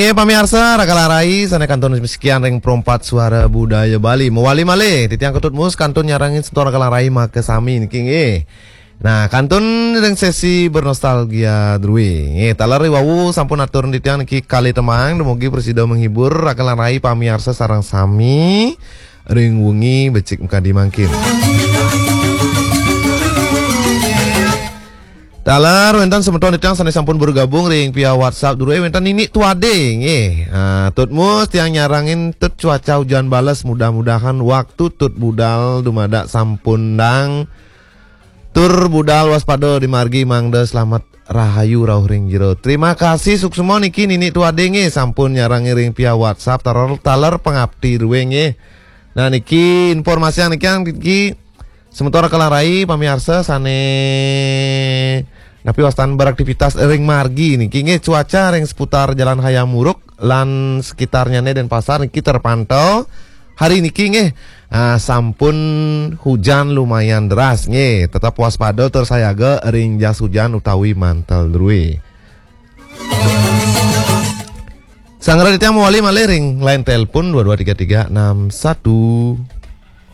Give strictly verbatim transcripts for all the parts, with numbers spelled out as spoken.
Eh, pamiarsa, Rakalang Rai, sané kantun sekian ring Perempat Suara Budaya Bali. Mawali malih, titiang Ketut Mus kantun nyarengin semeton Rakalang Rai makasami niki nggih. Nah, kantun ring sesi bernostalgia drué. Nggih, taler riwau sampun atur titiang niki kalih tembang, dumugi prasida menghibur Rakalang Rai pamiarsa sareng sami ring wengi becik makadi mangkin. Taler wénten semeton titiang sané sampun bergabung ring via WhatsApp drué, wénten Nini Tuade nggih. Ah, Tut Mus tiang nyarengin Tut cuaca hujan bales, mudah-mudahan waktu Tut budal dumadak sampun dang tur budal waspada di margi mangda slamet rahayu rauh ring jero. Terima kasih suksma niki Nini Tuade nggih sampun nyarengin ring via WhatsApp taler, taler pangapti drué nggih. Nah niki informasi niki niki Semeton Rakalang Rai, pamiarsa sané napi wastan beraktivitas ring margi niki nggih, cuaca ring seputar Jalan Hayam Wuruk lan sekitarnyané Denpasar niki terpantau hari niki nggih, ah, sampun hujan lumayan deras nggih. Tetap waspada tur sayaga ring jas hujan utawi mantel drué. Sanggra titiang mawali malih ring line telepon dua dua tiga tiga enam satu.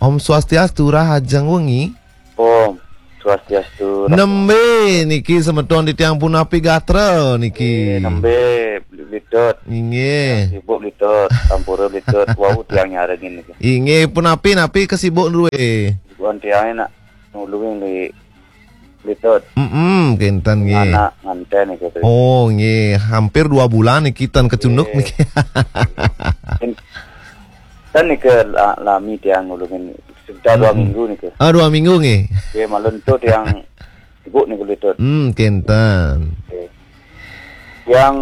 Om Swastiastu, rahajeng wengi. Om Swastiastu. Nembé niki semeton titiang punapi gatra niki? Eh, nembé, Bli Tut? Inggih. Sibuk, Bli Tut, sampura, Bli Tut. Wau tiang nyarengin niki. Inggih, punapi napi kasibuk drué? Bukan tiang nak nulungin di Bli Tut. Mm-mm, kénten nggih. Anak nganten niki, Bli. Oh, nggih, hampir dua bulan niki tan kacunduk niki. Ten niki la-, lami tiang nulungin sekitar dua minggu niki. Ah, dua minggu nggih. Nggih, malem tu tiang sibuk niki, Bli Tut. Hmm, kénten. Nggih. Tiang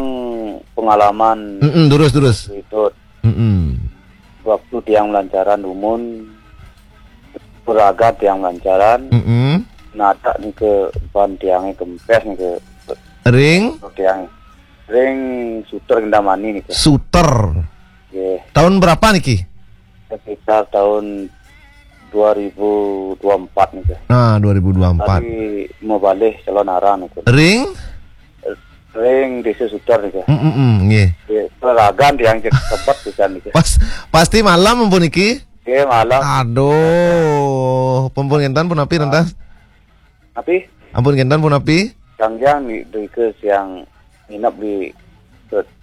pengalaman, mm-mm, durus, durus, Bli Tut. Mm-mm. Waktu tiang malancaran dumun, peragat tiang malancaran, mm-mm, nadak nika ban tiangé kempes nika. Ring? Tiang ring Suter Kendamani nika. Suter. Nggih. Tahun berapa niki? Sekitar tahun dua ribu dua empat nika. Ah, dua ribu dua empat. Tadi mabalih Calonarang nika. Ring? Ring Desa Suter nika. Mm, mm, mm, nggih. Nggih, peragan tiang cek tempat pisan nika. Pas, pasti malam ampun niki? Nggih, malam. Aduh, ampun kénten punapi, ah, rentas? Napi? Ampun kénten punapi? Tiang ni, nika tiang nginep di Sut-,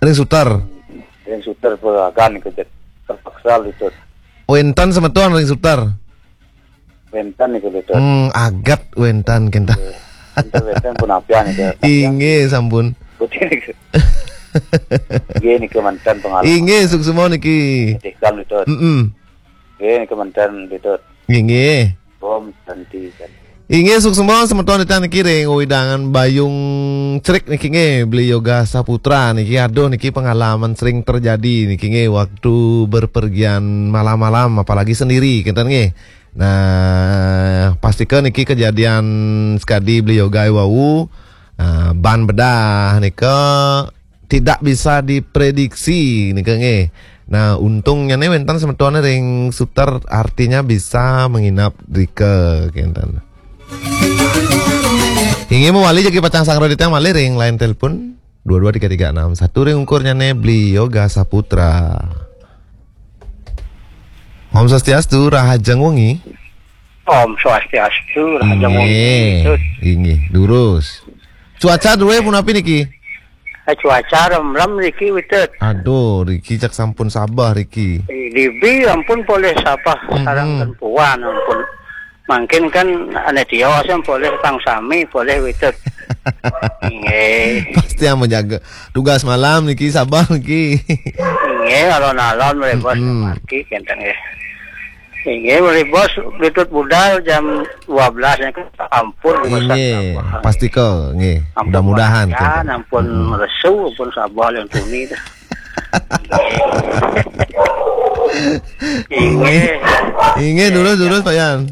ring Suter. Ring Suter peragan nika, terpaksa, Bli Tut. Wénten semeton ring Suter? Wénten nika, Bli Tut. Hmm, aget wénten kénten. Nggih. Wénten, wénten punapi nika. Inggih, sampun. Putih nika. Nggih, nika manten pengalaman. Inggih, suksma niki. Tikam, Bli Tut. Mm-mm. Nggih, nika manten, Bli Tut. Inggih. Om Santi, Santi. Inggih, suksma semeton titiang niki ring wewidangan Bayung Cerik niki nggih, Beli Yoga Saputra niki. Aduh, niki pengalaman sering terjadi niki nggih, waktu berpergian malam-malam, apalagi sendiri, kénten nggih. Nah, pastika niki kejadian sekadi Beli Yoga wau, ah, ban bedah nika tidak bisa diprediksi nika nggih. Nah, untungnya nih wénten semeton ring Suter, artinya bisa menginap rika kénten. Inggih mawali jagi pacang sanggra titiang malih ring line telepon dua dua tiga tiga enam satu ring ungkurnyané Beli Yoga Saputra. Om Swastiastu, rahajeng wengi. Om Swastiastu, rahajeng wengi. Inggih, inggih, durus. Cuaca drué punapi niki? Eh, cuaca remrem riki, Bli Tut. Aduh, riki cak sampun sabeh riki. Eh, dibi ampun polih sabeh, mm-mm, sareng tempuan ampun. Mangkin kan ané tios polih pang sami, polih, Bli Tut. Nggih. Pasti yang menjaga tugas malam niki, sabeh niki. Nggih, alon-alon mriki, bos, mm-mm, margi kénten nggih. Inggih, mriki, bos, Bli Tut budal jam dua belas niku ampun, bos, inggih, sabeh. Pastika nggih. Ampun, mudah-mudahan, ya, kénten, ampun, mm-mm, resu, ampun sabeh lan tuni dah. Inggih. Inggih, durus, durus, Pak Yan.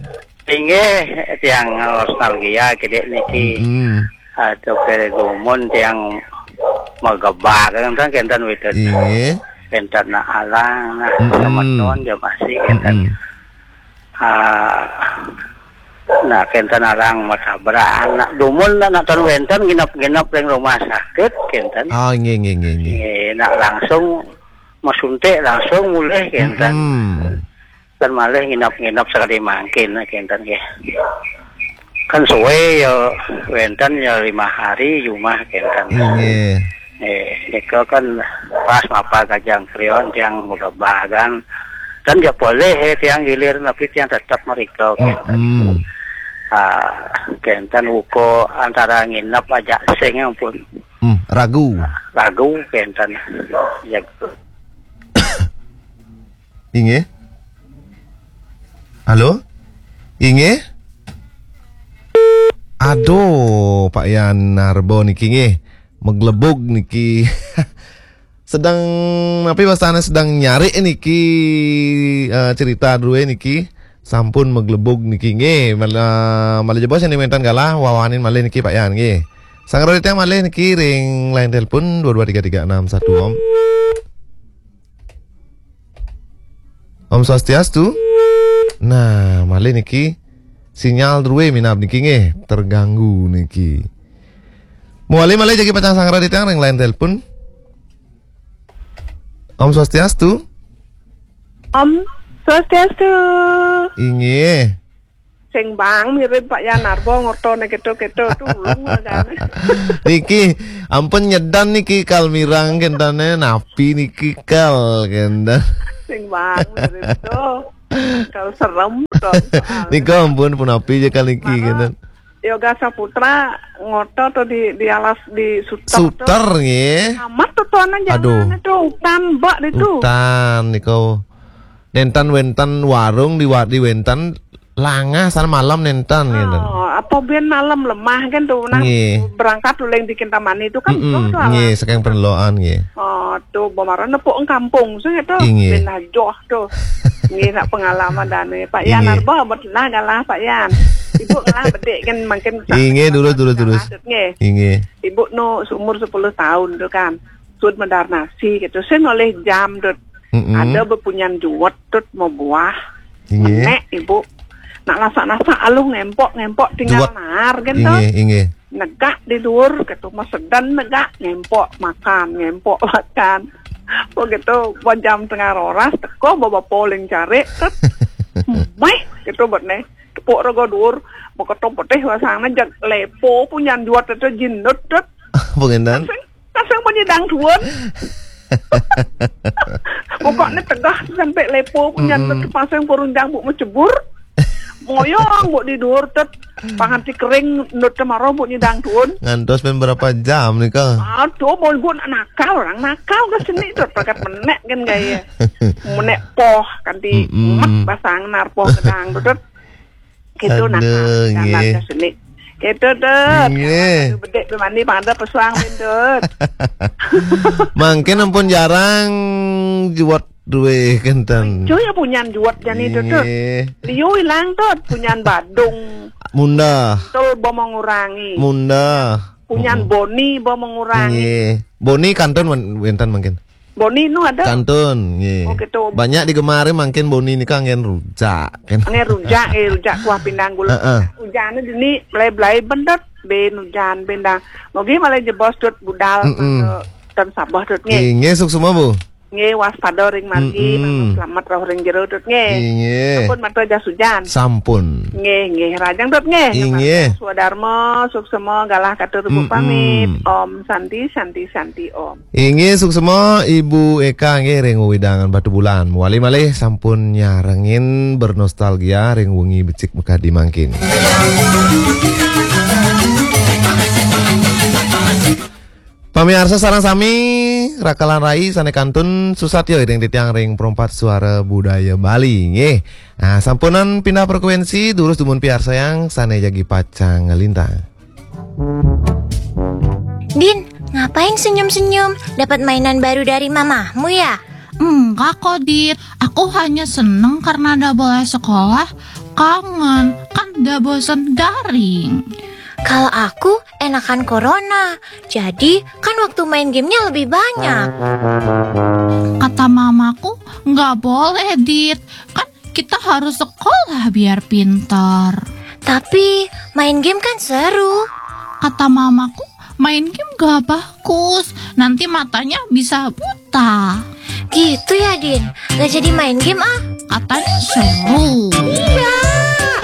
Inggih, tiang nostalgia kidik niki. Mm-mm. Aduh, kere gumun tiang magebak, kan, kénten, Bli Tut. Inggih. Kénten nak alang, nah, mm-mm, semeton ja masih kénten. Mm-mm. Ah, Nah, kenten arang matabrak anak dumun, anak tan wenten nginep-nginep ring rumah sakit, kenten. Oh, nggih, nggih, nggih, nggih. Nggih, nak langsung masuntik, langsung mulih, kenten. Mm-mm. Kan malih nginep-nginep sekali mangkin, kenten, nggih. Kan suwe ya, wenten ya lima hari jumah, kenten. Nggih. Eh, nika kan pas mapa gajang krion tiang muda bagan. Kan ya boleh, eh, tiang gilir, tapi tiang tetap mereka, kenten. Mm-mm. Ah, kenten uko antara nginep aja sing ampun. Hmm, ragu. Ragu, kenten. Ya. Inggih. Halo? Inggih? Aduh, Pak Yan Narbo niki nggih. Meglebug niki. Sedang, napi bahasane, sedang nyari niki, eh, cerita dulu niki. Sampun meglebug niki nggih. Malah, malah jebos yang dimentan galah, wawanin malih niki Pak Yan nggih. Sanggra titiang malih niki ring line telepon dua dua tiga tiga enam satu, Om. Om Swastiastu. Nah, malih niki sinyal druwe minab niki nggih, terganggu niki. Mawali malih jagi pacang sanggra titiang ring line telepon. Om Swastiastu. Om Swastiastu. Inggih. Sing bang mirip Pak Yan Narbo ngortone keto-keto, tulung aja. Niki ampun nyedan niki kal mirang kentane, napi niki kal kenten. Sing bang mirip to. Kal serem to soalnya. Nika ampun punapi aja kal niki kenten. Yoga Saputra ngoto to di, di alas, di suter to. Suter nggih. Amat to tuanan. Aduh. Jangan itu hutan, mbak, itu. Hutan niku. Nenten wenten warung di wa-, di wenten langah sana malam nenten gitu. Oh, apa ben malam lemah kan tuh, nah, nggih, berangkat uling di Kintamani itu kan. Mm-mm, tuh, tuh, nggih, alas. Saking peneloan nggih. Oh, tuh, bamaran nepuk kampung sih itu. Inggih. Ben ajoh tuh. Nggih, nak pengalaman dane. Pak Yan, inggih, Narbo, betul lah, galah, Pak Yan. Ibu ngalah bedik kan makin. Inggih, durus, durus, durus. Nggih. Inggih. Ibu nu seumur sepuluh tahun tuh kan. Sud medar nasi gitu. Sing oleh jam tuh. Mm-mm. Ada bepunyan juwet tut mau buah. Inggih. Menek, Ibu. Nak lasak-lasak aluh ngempok, ngempok tinggal juwet. Naar kan to. Inggih, inggih. Negak di dhuwur gitu, masedan negak, ngempok makan, ngempok makan. Begitu, buat jam tengah roras, teko bawa poling cari, tut. Mai, gitu buat nih. Tepuk rego dhuwur, beketo petih wasangnya, jag lepo punyan juwet itu jinut, tut. Pengenan? Kasing bunyi dangduan. Pokoknya tegah sampai lepo punya. Mm-mm. Pasang burung jambu mau cebur. Moyong bu di dhuwur tut. Panganti kering nut kemaro bu nyidang tuun. Ngantos pun berapa jam nih, Kang? Aduh, mau bu nakal, orang nakal ke sini tut. Pakat menek kan gaya. Menek poh, kanti. Mm-mm. Mek basang nar poh gedang tut. Gitu, nah, aduh, jalan nggih. Ke sini. Gitu, Dut. Nggih. Aduh, bedek mandi pada pesuang, Dut. Mangkin ampun jarang juwet duwe kenten. Cuy, ya punyan juwet jani, Dut, Dut. Nggih. Liu ilang, Dut. Punyan badung. Mundah. Tul bo mengurangi. Mundah. Punyan, mm-mm, boni bo mengurangi. Nggih. Boni kantun wen-, wenten mangkin. Boni nu ada? Kantun, nggih. Oh, gitu. Banyak digemari mangkin boni nika anggen rujak. Anggen rujak, eh, rujak kuah pindang gula. Heeh. Ujannya dini belai-belai ben, Dut, ben ujan, ben dang. Mogi malah jebos, Dut, budal, mm-mm, mangga ten sabeh, Dut, nggih. Nggih, suksma, Bu. Nggih, waspada ring margi, mm-mm, mangga selamat rauh ring jero, Dut, nggih. Nggih. Sampun mata jas ujan. Sampun. Nggih, nggih, rajang, Dut, nggih. Nggih. Swadarma, suksma, galah katur, mm-mm, pamit. Om Santi, Santi, Santi, Om. Inggih, suksma Ibu Eka nggih ring wewidangan Batubulan. Mawali malih sampun nyarengin bernostalgia ring wengi becik makadi mangkin. Pamiarsa sareng sami, rakalan rai sane kantun susatya ring titiang ring Perempat Suara Budaya Bali nggih. Nah, sampunang pindah frekuensi, durus dumun piarsayang sane jagi pacang nglintang. Din, ngapain senyum-senyum? Dapat mainan baru dari mamahmu ya? Enggak kok, Dit. Aku hanya seneng karena ndak boleh sekolah. Kangen, kan ndak bosen daring. Kalau aku enakan corona. Jadi kan waktu main gamenya lebih banyak. Kata mamaku, nggak boleh, Dit. Kan kita harus sekolah biar pintar. Tapi main game kan seru. Kata mamaku, main game gak bagus. Nanti matanya bisa buta. Gitu ya, Din? Gak jadi main game ah. Katanya seru.